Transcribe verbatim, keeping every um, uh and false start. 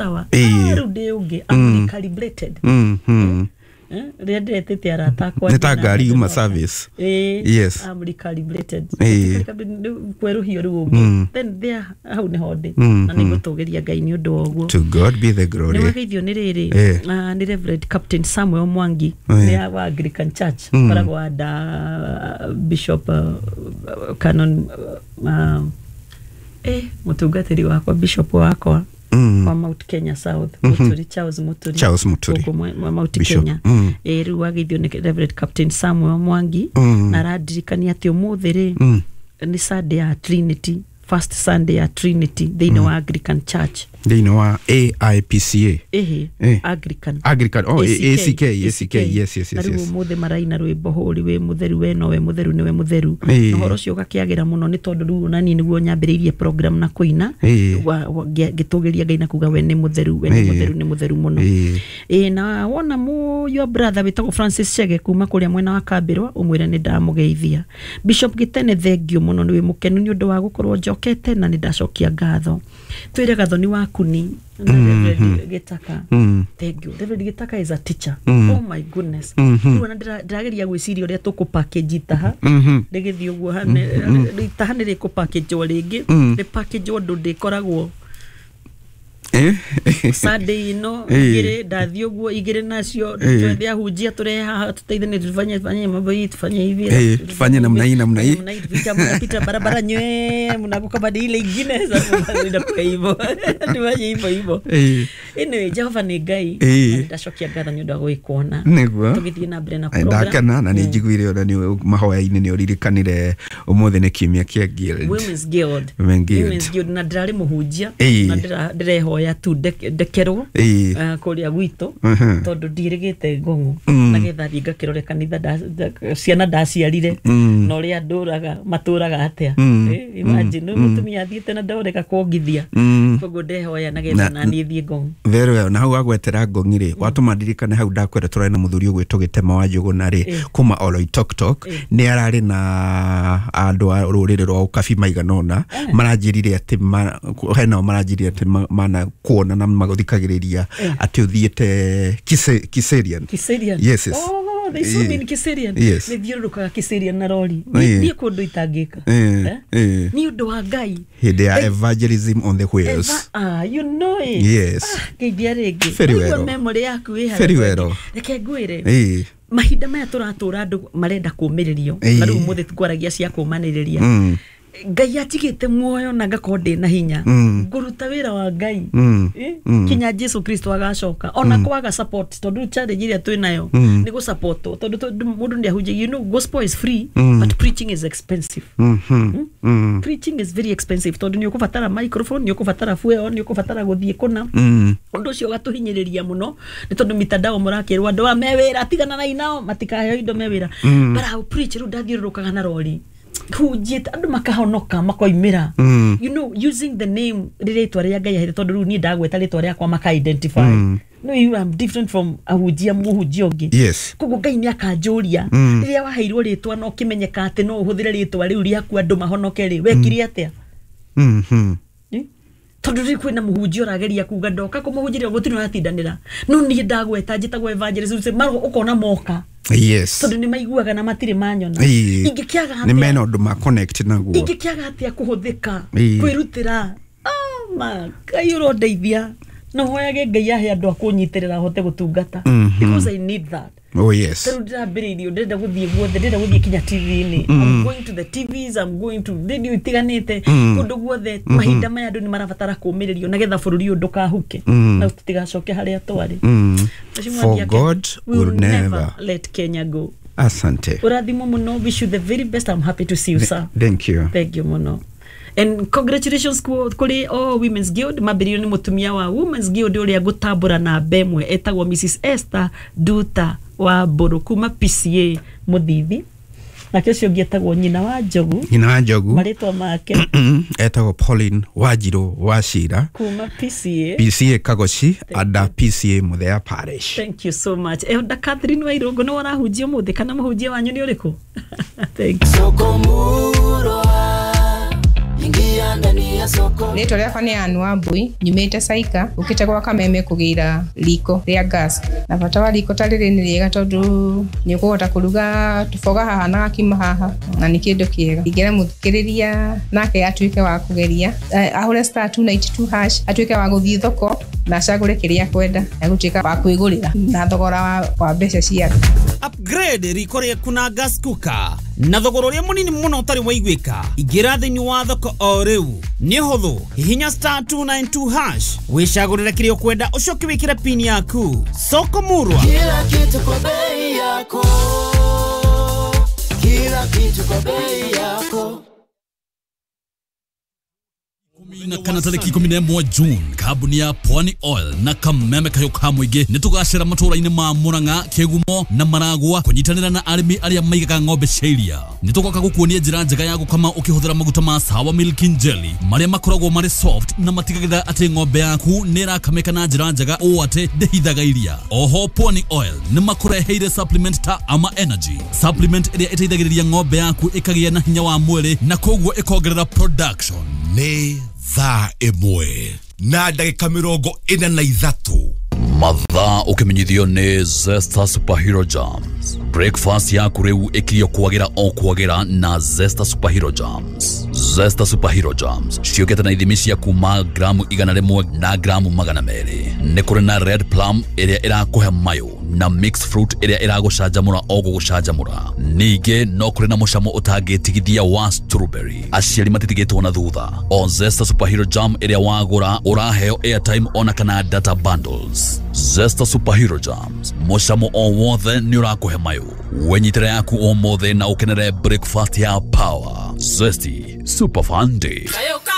Sawa. Ĩĩ. Ah, rĩu ndĩ ũngĩ. I'm recalibrated. Mhm. Eh, rĩrĩa ndĩretĩte arata akwa Nĩ ta ndĩna- ngari yuma service. Ĩĩ, Yes. I'm recalibrated. Ĩĩ. Rĩu kwerũhio rĩu ũngĩ. Then there, hau nĩho ndĩ. Mm, Na nĩngũtũgĩria Ngai nĩ ũndũ wa ũguo. To God be the glory. Nĩ wageithio nĩ rĩrĩ, Eh. ah, nĩ Reverend Captain Samuel Mwangi, Eh. nĩ wa Anglican Church, Mm. koragwo anda Bishop, uh, Canon, uh, eh, mũtungatĩri wakwa, Bishop wakwa Mm. wa Mount Kenya South, Muturi, Charles Muturi. Charles Muturi. Gũkũ mwe- mwa Mount Bishop. Kenya. Mm. Ĩ, rĩu wageithio nĩ Reverend Captain Samuel Mwangi, Mm. na arandirikania atĩ ũmũthĩ rĩ, Mm. nĩ Sunday ya Trinity, first Sunday ya Trinity thĩinĩ wa Anglican Church. Thĩinĩ wa A I P C A? Ĩhĩ. Eh. Anglican. Anglican, oh, A C K, A C K, yes, yes, Na yes, rĩu yes. ũmũthĩ maraina rwĩmbo hũri wĩ mũtheru, we nowe mũtheru, nĩwe mũtheru. Ĩĩ. Na ũhoro ũcio ũgakĩagĩra mũno nĩ tondũ rĩu onani nĩguo nyambĩrĩirie program na kũina, Ĩĩ. wa- wa- ngĩ- ngĩtũgĩria Ngai na kuga we nĩ mũtheru, we nĩ Ĩĩ. mũtheru, nĩ mũtheru mũno. Ĩĩ. Ĩĩ, na wona mu your brother wĩtagwo Francis Chege kuma kũrĩa mwena wa Kambĩrwa, ũmwĩre nĩ ndamũgeithia. Bishop Gĩtene, thengio mũno, nĩ wĩ mũkenu nĩ ũndũ wa gũkorwo njokete na nĩ ndacokia ngatho. Twĩre Gathoni wa Kuni na Reverend Gĩtaka. Mm. Thank you. Reverend Gĩtaka is a teacher. Mm. Oh my goodness. Mhm. Rĩu ona ndĩra- ndĩrageria gwĩciria ũrĩa tũkũ package itaha, Mhm. rĩgĩthiĩ ũguo hane- itaha nĩ rĩkũ package rĩngĩ, Mm. rĩ package ũndũ ndĩkoragwo Eh? Sunday ino Ĩĩ. igĩrĩ ndathiĩ ũguo igĩrĩ nacio, Ĩĩ. twethe ahunjia tũrehe haha tuteithanie, tufanye fanye mambo hii, tufanye hivi. Ĩĩ, tufanye namna hii, namna hii. Namna hii, tupita, mnapita barabara nywe mnavuka badi ile ingine, sasa inakuwa hivyo, tufanye hivyo hivyo. Ĩĩ. Anyway, Jehova nĩ Ngai. Ĩĩ. Na ndacokia ngatho nĩ ũndũ wa gwĩkuona. Nĩguo. Tũgĩthiĩ na mbere na program. Ndakena na nĩ njiguire ona nĩ mahoya-inĩ nĩ ũririkanire ũmũthĩ nĩ kiumia kĩa Guild. Women's Guild. Women Guild. Women's Guild, na ndĩrarĩ mũhunjia, Ĩĩ. na ndĩra- ndĩrehoya tu ndeke- ndekerwo Ĩĩ. eh, kũrĩa gwitũ, Mhm. tondũ ndirĩgĩte ngũng'ũ, Mm. nagetha thiĩ ngakĩrore kanitha nda- nda- ciana ndaciarire Mm. na ũrĩa ndũraga matũraga atĩa. Mm. Eh, imagine, mm. mũtumia athiĩte na ndoreka kuongithia. Mm. Koguo ndehoya nagetha Na- na niĩ thiĩ ngũng'ũ. Very well. Na hau wagwetera ngong'i rĩ, watũma ndirikane hau ndakwĩra tũrarĩ na mũthuri ũgwĩtwo Gĩtema wa Njũgũna rĩ, Eh. kuma Oloitoktok. Eh. Nĩ ararĩ na andũ a rũrĩrĩ rwa ũkabi maigana ũna maranjĩrire atĩ ma- henao maranjĩrire atĩ ma- mana kuona na magũthikagĩrĩria atĩ ũthiĩte Kise- Kiserian. Kiserian. Yes, yes. Oh, they saw me in Eh. Kiserian. Yes. Nĩ thiũrũrũkaga Kiserian na rori. Eh. Niĩ kũndũ itangĩka. Eh, Eh? eh. Nĩ ũndũ wa Ngai. Hĩndĩ ya evangelism on the wheels. Eva, ah, you know it. Yes. Ah, ngeithia rĩngĩ. Very Waigua well. memory yaku ĩ harĩa. Very well. Reke ngwĩre. Ĩĩ. Mahinda maya tũratũra andũ marenda kũũmĩrĩrio. Ĩĩ. Na rĩu ũmũthĩ ngwaragia cia kũũmanĩrĩria. Mm. Ngai anjigĩte muoyo na ngakorwo ndĩ na hinya, Mm. ngũruta wĩra wa Ngai, Mm. Eh? Mm. Kinya Jesu Kristo agacoka, ona kwaga support, tondũ rĩu challenge ĩrĩa twĩ nayo Mm. nĩ gũsupportwo, tondũ tondũ mũndũ nĩ ahunjagia. You know gospel is free, Mm. but preaching is expensive. Mhm. Mm. Preaching is very expensive, tondũ nĩ ũkũbatara microphone, nĩ ũkũbatara fuel, nĩ ũkũbatara gũthiĩ kũna. Mm. Ũndũ ũcio ũgatũhinyĩrĩria mũno nĩ tondũ mitandao mũrakĩrwo andũ a me wĩra tigana na inao matikaheo indo me wĩra. Mm. But I preach, rĩu ndathiũrũrũkaga na rori hunjĩte andũ makahonoka makoimĩra, Mm. you know using the name, rĩrĩa itwa rĩa Ngai ahete, tondũ rĩu niĩ ndagweta rĩtwa rĩakwa maka identify. Mm. No, you am different from ahunjia, mũhunjia ũngĩ. Yes. Koguo Ngai nĩ akanjũria, Mm. rĩrĩa waheirwo rĩtwa na ũkĩmenyeka atĩ no ũhũthĩre rĩtwa rĩu rĩaku andũ mahonoke rĩ, wekire atĩa? Mhm. Eh? Tondũ rĩu kwĩna mũhunjia ũrageria kuga ndoka kũmũhunjĩria gũtirĩ ũratindanĩra, no niĩ ndagweta njĩtagwo evangelist ũcio, maro ũkona moka, Yes. tondũ nĩ maiguaga na matirĩ manyona. Ĩĩ. Ingĩkĩaga Nĩ atĩa? mena ũndũ ma connect naguo. Ingĩkĩaga atĩa kũhũthĩka, Ĩĩ. kwĩrutĩra? Ah, ma Ngai ũrondeithia no hoyage Ngai ahe andũ a kũnyitĩrĩra hote gũtungata, Mhm. because I need that. Oh yes. Tarĩu ndĩrambĩrĩirie, ndĩrenda gũthiĩ guothe, ndĩrenda gũthiĩ kinya T V-inĩ. I'm going to the T Vs, I'm going to radio itiganĩte, Mm. kũndũ guothe. Mahinda maya andũ nĩ marabatara kũũmĩrĩrio nĩgetha bũrũri ũyũ ndũkahuke Mm. na tũtigacoke harĩa twarĩ. Mm. Mheshimiwa For Ndiake, God we will never let Kenya go. Asante. Ũrathimwo mũno, wish you the very best. I'm happy to see you, sir. Thank you. Thank you mũno and congratulations ku- kũrĩ o Women's Guild mambĩrĩirio nĩ mũtumia wa Women's Guild ũrĩa ngũtambũra na mbemwe, etagwo Missus Esther Duta wa Mbũrũ kuma P C A Mũthithi, nake ũcio ũngĩ etagwo Nyina wa Njogu. Nyina wa Njogu. Marĩtwa make? Etagwo Pauline Wanjirũ wa Cira. Kuma P C A. P C A Kagoci ada P C A Muthea Parish. Thank you so much. Elder Catherine Wairũngũ, nĩ warahunjia ũmũthĩ kana mũhunjia wanyu nĩ ũrĩkũ? Thank you. Sokomurwa. Ingia ndani ya soko. Rĩtwa rĩakwa nĩ Ann Wambui, nyumĩte Saika, ũkĩte gwa Kameme kũgĩra riko rĩa gas. Na bata wa riko ta rĩrĩ nĩ rĩega tondũ nĩ ũkũhota kũruga tũboga haha na gakima haha, na nĩ kĩndũ kĩega. Ingĩra mũthikĩrĩria nake atuĩke wa kũgeria, eh, ahũre star two ninety two hash, atuĩke wa gũthiĩ thoko na acagũre kĩrĩa akwenda, egũtuĩka wa kwĩgũrĩra na thogora wa, wa mbeca ciake. Upgrade riko rĩaku na gas cooker na thogora ũrĩa mũnini mũno ũtarĩ waiguĩka. Ingĩra thĩinĩ wa thoko o rĩu, nĩ ũhũthũ, hihinya star two nine two hash, wĩcagũrĩre kĩrĩa ũkwenda, ũcoke wĩkĩre pin yaku. Soko Murwa, Kila kitu kwa bei yako. Kila kitu kwa bei yako. Na kana tariki ikumi na ĩmwe June, kambuni ya Pwani Oil na Kameme Kahiũ ka Mũingĩ nĩ tũgacĩra matũra-inĩ ma Murang'a, Kĩgumo na Maragua kũnyitanĩra na arĩmi arĩa maigaga ng'ombe cia iria. Nĩ tũgoka gũkuonia njĩra njega ya gũkama ũkĩhũthĩra maguta ma Sawa Milk and Jelly marĩa makoragwo marĩ soft na matigagĩrĩra atĩ ng'ombe yaku nĩ ĩrakamĩka na njĩra njega ũũ atĩ ndĩhithaga iria. Oho Pwani Oil nĩ makũreheire supplement ta Ama Energy, supplement ĩrĩa ĩteithagĩrĩria ng'ombe yaku ĩkagĩa na hinya wa mwĩrĩ na koguo ĩkongerera production. Nĩ thaa ĩmwe na ndagĩka mĩrongo ĩna na ithatũ. Mathaa ũkĩmenyithio nĩ Zesta Superhero Jams. Breakfast yaku rĩu ĩkirio kwagĩra o kwagĩra na Zesta Superhero Jams. Zesta Superhero Jams ciũkĩte na ithimi cia kuma gramu igana rĩmwe na gramu magana merĩ. Nĩ kũrĩ na red plum ĩrĩa ĩrakũhe mayũ na mixed fruit ĩrĩa ĩragũcanjamũra o gũgũcanjamũra. Ningĩ no kũrĩ na mũcamo ũtangĩtigithia wa strawberry. Aciari matitigĩtwo na thutha. O Zesta Superhero Jam ĩrĩa wagũra ũraheo airtime ona kana data bundles. Zesta Superhero Jams, mũcamo o wothe nĩ ũrakũhe mayũ. Wenyitĩre yaku ũmũthĩ na ũkenere breakfast ya power. Zesty Super Fun Day. Kayo ka